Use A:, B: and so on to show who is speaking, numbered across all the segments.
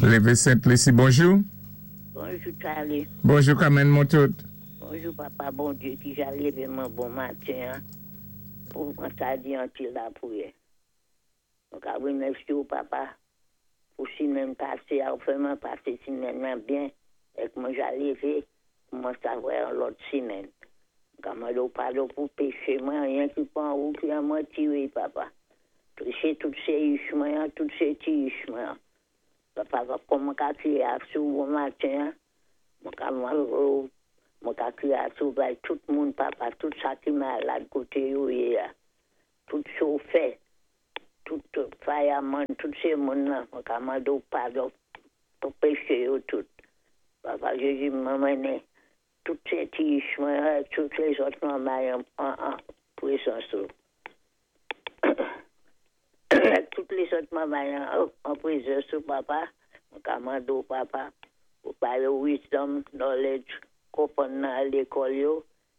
A: Lévé Sent Lisi, bonjou.
B: Bonjou, Charlie.
A: Bonjou, Carmen Montout.
B: Bonjou, papa Bondyé ki ja lévé mwen bon maten pou mwen sa di an ti lapriyè. Mwen ka wimèsye ou, papa, pou simenn pasé a, ou fè mwen pasé simenn nan byen, èk mwen ja lévé pou mwen sa wè an lòt simenn. Mwen ka mandé ou padon pou péché mwen, anyen ki pa an ou ki an mwen tiré, papa. Péché tout sé ich mwen, tout sé ti ich mwen. Papa, kòm mwen ka kriyé asou bon maten, mwen ka mwen ka kriyé asou bay tout moun, papa, tout sa ki malad koté yo yé a. Tout chofè, tout fireman, tout sé moun la, mwen ka mandé ou padon pou péché yo tout. Papa Jézi, mwen mennen tout sé ti ich mwen, tout lézòt mwen bay an pwézans ou. Tout lézòt mwen bay an pwézans ou, papa, mwen ka mandé ou, papa, pou bay yo wisdom, knowledge, konpwann nan lékòl yo,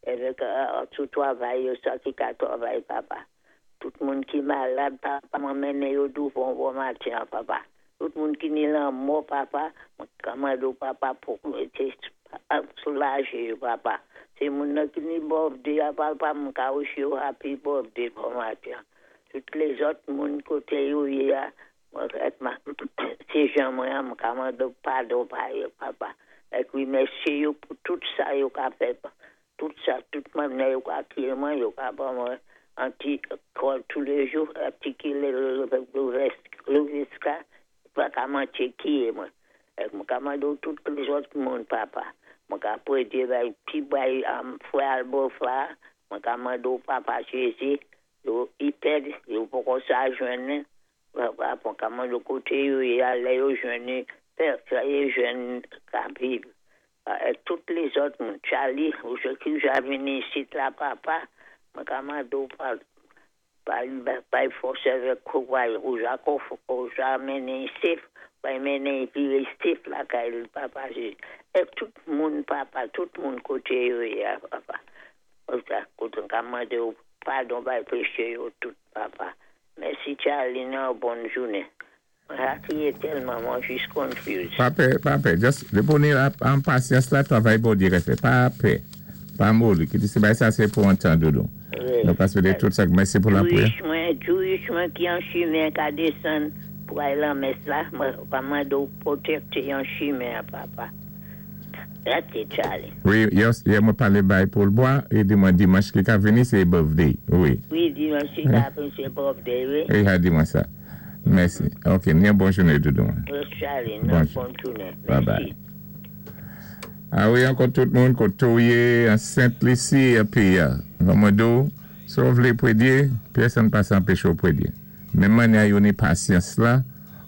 B: avèk tout twavay yo, sa ki ka twavay, papa. Tout moun ki malad, papa, mwen mennen yo douvan bon maten, papa. Tout moun ki ni lanmò, papa, mwen ka mandé ou, papa, pou mété soulajé yo, papa. Sé moun nan ki ni birthday, papa, mwen ka wish yo happy birthday bon maten. Tout lézòt moun koté yo yé a, mwen èk ma, sé jan mwen, mwen ka mandé ou padon pa yo, papa. Èk wimèsye yo pou tout sa yo ka fè, tout sa, tout mwen yo ka kriyé mwen, yo ka ban mwen an ti kòl tous les jours, an ti kilè Louviska, pa ka mantye kiyé mwen. Èk mwen ka mandé ou tout lézòt moun, papa. Mwen ka pwédyé bay pi bay frè Albofa, mwen ka mandé ou, papa Jézi, yo i pèd, yo poko sa jwenn, papa, mwen ka mandé koté yo yé a, lè yo jwenn, fè fè yo jwenn ka viv. Èk tout lézòt moun, Charlie, ou jé ki ja vini isit la, papa, mwen ka mandé ou pa bay fòs avèk kouray, ou ja ou ja mennen safe, bay mennen viré safe lakay li, papa Jézi. Èk tout moun, papa, tout moun koté yo yé a, papa. Ou sa, koté ka mandé ou padon bay péché yo tout, papa. Mèsi, Charlie, nan bòn jounen. Mwen ka kriyé tèlman, mwen jis confused.
A: Pa pè, pa pè. Just, dépi ou ni an pasyans la, twavay Bondyé ka fè. Pa pè. Pa moli. Ki di sé bay sa sé pou an tan, doudou.
B: Wi.
A: Nou ka swété tout sa. Mèsi pou lapriyè.
B: Jewish mwen, Jewish mwen ki an chimen ka désann pou ay lan mès la, mwen ka mandé ou pwotékté an chimen, papa. That's it, Charlie.
A: Wi, yè mwen palé bay Paul Bois, i di mwen dimanch ki ka vini sé birthday. Wi.
B: Wi, dimanch ki ka vini sé birthday, wi.
A: Wi, ha di mwen sa. Mèsi. Ok, ni yon bon jounen, doudou.
B: Wi, Charlie, nan
A: Bonjou.
B: Bon jounen.
A: Bye bye.
B: Mèsi.
A: A wi, ankò tout moun koté ou yé an Sent Lisi épi mwen di ou, si ou vlé pwédyé, pèsonn pa sa anpéché ou pwédyé. Menm mannyè yo ni pasyans la,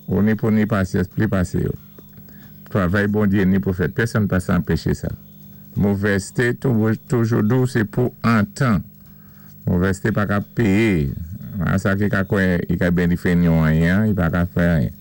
A: ou ni pou ni pasyans pli pasé yo. Twavay Bondyé ni pou fèt, pèsonn pa sa anpéché sa. Movèzté toujou di ou sé pou an tan. Movèzté pa ka péyé. A sa ki ka kwè i ka benifé ni anyen, i pa ka fè anyen.